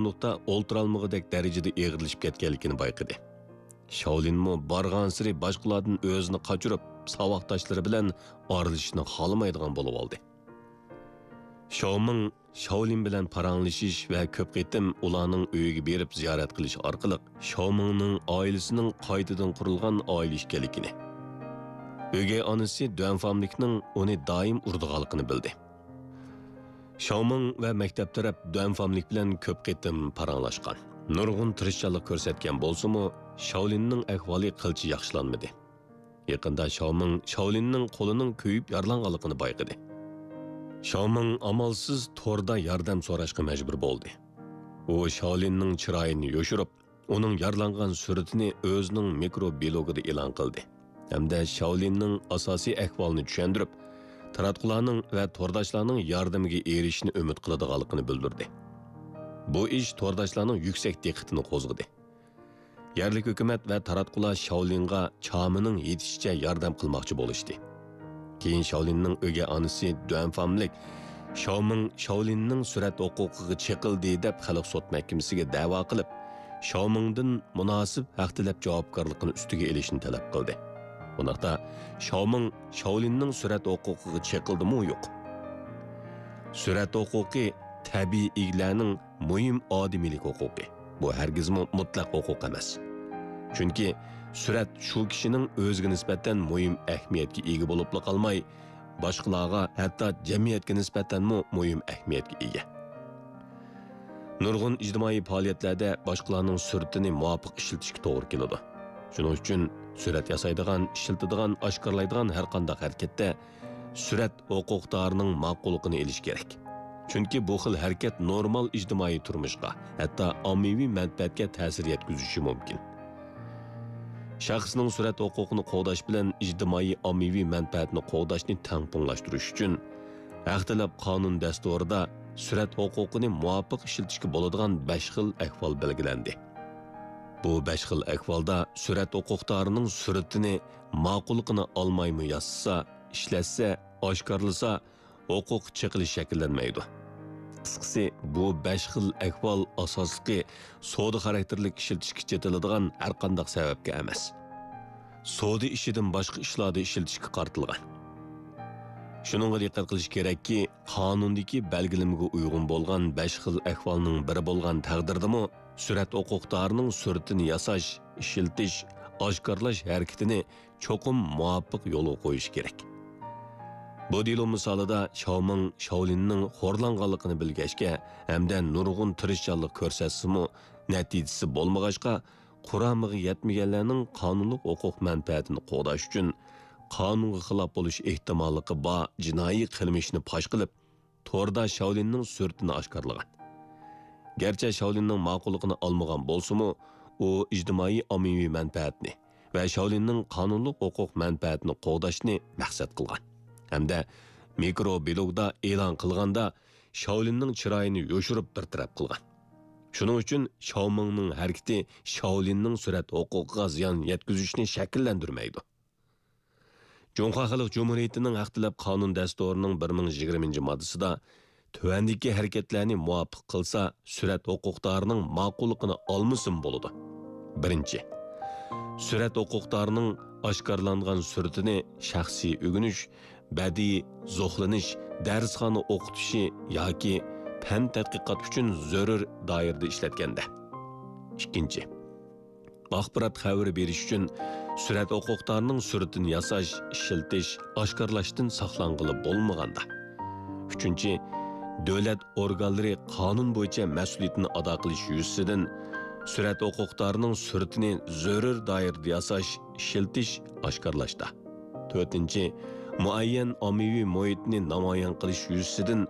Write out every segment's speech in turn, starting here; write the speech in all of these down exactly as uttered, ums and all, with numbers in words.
ئورۇندۇقتا ئولتۇرالمىغۇدەك دەرىجىدە ئېغىرلىشىپ كەتكەنلىكىنى بايقىدى. شاۋلىنمۇ بارغانسېرى باشقىلاردىن ئۆزىنى قاچۇرۇپ، ساۋاقداشلىرى بىلەن ئارىلىشىشنى خالىمايدىغان بولۇۋالدى. شاۋمىڭ شاۋلىن بىلەن پاراڭلىشىش ۋە كۆپ قېتىم ئۇلارنىڭ ئۆيىگە بېرىپ زىيارەت قىلىش ئارقىلىق شاۋمىڭنىڭ ئائىلىسىنىڭ قايتىدىن قۇرۇلغان ئائىلە ئىكەنلىكىنى، ئۆگەي ئانىسى دۈەنفاملىكنىڭ ئۇنى دائىم ئۇرىدىغانلىقىنى بىلدى. شاۋمىڭ ۋە مەكتەپ تەرەپ دۈەنفاملىك بىلەن كۆپ قېتىم پاراڭلاشقان. نۇرغۇن تىرىشچانلىق كۆرسەتكەن بولسىمۇ، شاۋلىننىڭ ئەھۋالى قىلچە ياخشىلانمىدى. يېقىندا شاۋمىڭ شاۋلىننىڭ قولىنىڭ كۆيۈپ يارىلانغانلىقىنى بايقىدى. شاۋمىڭ ئامالسىز توردا ياردەم سوراشقا مەجبۇر بولدى. ئۇ شاۋلىننىڭ چىرايىنى يوشۇرۇپ، ئۇنىڭ يارىلانغان سۈرىتىنى ئۆزىنىڭ مىكرو بىلوگىدا ئېلان قىلدى ھەمدە شاۋلىننىڭ ئاساسىي ئەھۋالىنى چۈشەندۈرۈپ، تاراتقۇلارنىڭ ۋە تورداشلارنىڭ ياردىمىگە ئېرىشىشنى ئۈمىد قىلىدىغانلىقىنى بىلدۈردى. بۇ ئىش تورداشلارنىڭ يۈكسەك دىققىتىنى قوزغىدى. يەرلىك ھۆكۈمەت ۋە تاراتقۇلار شاۋلىنغا چامىنىڭ يېتىشىچە ياردەم قىلماقچى بولۇشتى. كېيىن شاۋلىننىڭ ئۆگەي ئانىسى دۈەنفاملىك شاۋمىڭ شاۋلىننىڭ سۈرەت ھوقۇقىغا چېقىلدى دەپ خەلق سوت مەھكىمىسىگە دەۋا قىلىپ، شاۋمىڭدىن مۇناسىپ ھەق تەلەپ جاۋابكارلىقىنى ئۈستىگە ئېلىشنى تەلەپ قىلدى. بۇنداقتا شاۋمىڭ شاۋلىننىڭ سۈرەت ھوقۇقىغا چېقىلدىمۇ يوق؟ سۈرەت ھوقۇقى تەبىئىي ئىگىلەرنىڭ مۇھىم ئادىمىيلىك ھوقۇقى. بۇ ھەرگىزمۇ مۇتلەق ھوقۇق ئەمەس. چۈنكى سۈرەت شۇ كىشىنىڭ ئۆزىگە نىسبەتەن مۇھىم ئەھمىيەتكە ئىگە بولۇپلا قالماي، باشقىلارغا، ھەتتا جەمئىيەتكە نىسبەتەنمۇ مۇھىم ئەھمىيەتكە ئىگە. نۇرغۇن ئىجتىمائىي پائالىيەتلەردە باشقىلارنىڭ سۈرىتىنى مۇۋاپىق ئىشلىتىشكە توغرا كېلىدۇ. شۇنىڭ ئۈچۈن سۈرەت ياسايدىغان، ئىشلىتىدىغان، ئاشكارىلايدىغان ھەرقانداق ھەرىكەتتە سۈرەت ھوقۇقدارىنىڭ ماقۇللۇقىنى ئېلىش كېرەك. چۈنكى بۇ خىل ھەرىكەت نورمال ئىجتىمائىي تۇرمۇشقا، ھەتتا ئاممىۋى مەنپەئەتكە تەسىر يەتكۈزۈشى مۇمكىن. شەخسنىڭ سۈرەت ھوقۇقىنى قوغداش بىلەن ئىجتىمائىي ئاممىۋى مەنپەئەتنى قوغداشنى تەڭپۇڭلاشتۇرۇش ئۈچۈن، ھەق تەلەپ قانۇن دەستۇرىدا سۈرەت ھوقۇقىنى مۇۋاپىق ئىشلىتىشكە بولىدىغان بەش خىل ئەھۋال بەلگىلەندى. بۇ بەش خىل ئەھۋالدا سۈرەت ھوقۇقدارىنىڭ سۈرىتىنى ماقۇللۇقىنى ئالمايمۇ ياسىسا، ئىشلەتسە، ئاشكارىلىسا، ھوقۇق چېقىلىش شەكىللەنمەيدۇ. قىسقىسى، بۇ بەش خىل ئەھۋال ئاساسلىقى سودا خاراكتېرلىك ئىشلىتىشكە چېتىلىدىغان ھەرقانداق سەۋەبكە ئەمەس، سودا ئىشىدىن باشقا ئىشلاردا ئىشلىتىشكە قارىتىلغان. شۇنىڭغا دىققەت قىلىش كېرەككى، قانۇندىكى بەلگىلىمىگە ئۇيغۇن بولغان بەش خىل ئەھۋالنىڭ بىرى بولغان تەقدىردىمۇ، سۈرەت ھوقۇقدارىنىڭ سۈرىتىنى ياساش، ئىشلىتىش، ئاشكارىلاش ھەرىكىتىنى چوقۇم مۇۋاپىق يولغا قويۇش كېرەك. بۇ دېلو مىسالىدا شاۋمىڭ شاۋلىننىڭ خورلانغانلىقىنى بىلگەچكە ھەمدە نۇرغۇن تىرىشچانلىق كۆرسەتسىمۇ، نەتىجىسى بولمىغاچقا، قۇرامىغا يەتمىگەنلەرنىڭ قانۇنلۇق ھوقۇق مەنپەئەتىنى قوغداش ئۈچۈن قانۇنغا خىلاپ بولۇش ئېھتىماللىقى بار جىنايى قىلمىشنى پاش قىلىپ، توردا شاۋلىننىڭ سۈرىتىنى ئاشكارىلىغان. گەرچە شاۋلىننىڭ ماقۇللۇقىنى ئالمىغان بولسىمۇ، ئۇ ئىجتىمائىي ئاممىۋى مەنپەئەتنى ۋە شاۋلىننىڭ قانۇنلۇق ھوقۇق مەنپەئەتىنى قوغداشنى مەقسەت قىلغان ھەمدە مىكرو بىلوگدا ئېلان قىلغاندا شاۋلىننىڭ چىرايىنى يوشۇرۇپ بىر تەرەپ قىلغان. شۇنىڭ ئۈچۈن شاۋمىڭنىڭ ھەرىكىتى شاۋلىننىڭ سۈرەت ھوقۇقىغا زىيان يەتكۈزۈشنى شەكىللەندۈرمەيدۇ. جۇڭخۇا خەلق جۇمھۇرىيىتىنىڭ ھەق تەلەپ قانۇن دەستۇرىنىڭ بىر مىڭ يىگىرمىنچى ماددىسىدا تۆۋەندىكى ھەرىكەتلەرنى مۇۋاپىق قىلسا، سۈرەت ھوقۇقدارىنىڭ ماقۇللۇقىنى ئالمىسىمۇ بولىدۇ. بىرىنچى، سۈرەت ھوقۇقدارىنىڭ ئاشكارىلانغان سۈرىتىنى شەخسىي ئۆگىنىش، بەدىئىي زوقلىنىش، دەرسخانا ئوقۇتۇشى ياكى پەن تەتقىقات ئۈچۈن زۆرۈر دائىرىدە ئىشلەتكەندە. ئىككىنچى، ئاخبارات خەۋىرى بېرىش ئۈچۈن سۈرەت ھوقۇقدارنىڭ سۈرىتىنى ياساش، ئىشلىتىش، ئاشكارىلاشتىن ساقلانغىلى بولمىغاندا. ئۈچىنچى، دۆلەت ئورگانلىرى قانۇن بويىچە مەسئۇلىيىتىنى ئادا قىلىش يۈزىسىدىن سۈرەت ھوقۇقدارنىڭ سۈرىتىنى زۆرۈر دائىرىدە ياساش، ئىشلىتىش، ئاشكارىلاشتا. تۆتىنچى، مۇئەييەن ئاممىۋى مۇھىتنى نامايان قىلىش يۈزىسىدىن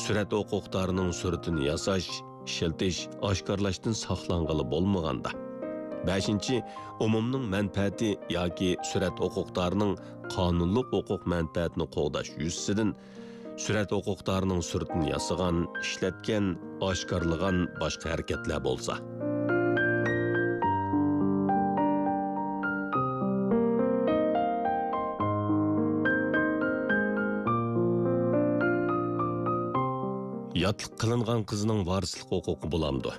سۈرەت ھوقۇقدارنىڭ سۈرىتىنى ياساش، ئىشلىتىش، ئاشكارىلاشتىن ساقلانغىلى بولمىغاندا. بەشىنچى، ئومۇمنىڭ مەنپەئەتى ياكى سۈرەت ھوقۇقدارنىڭ قانۇنلۇق ھوقۇق مەنپەئەتىنى قوغداش يۈزىسىدىن سۈرەت ھوقۇقدارنىڭ سۈرىتىنى ياسىغان، ئىشلەتكەن، ئاشكارىلىغان باشقا ھەرىكەتلەر بولسا. ياتلىق قىلىنغان قىزنىڭ ۋارىسلىق ھوقۇقى بولامدۇ؟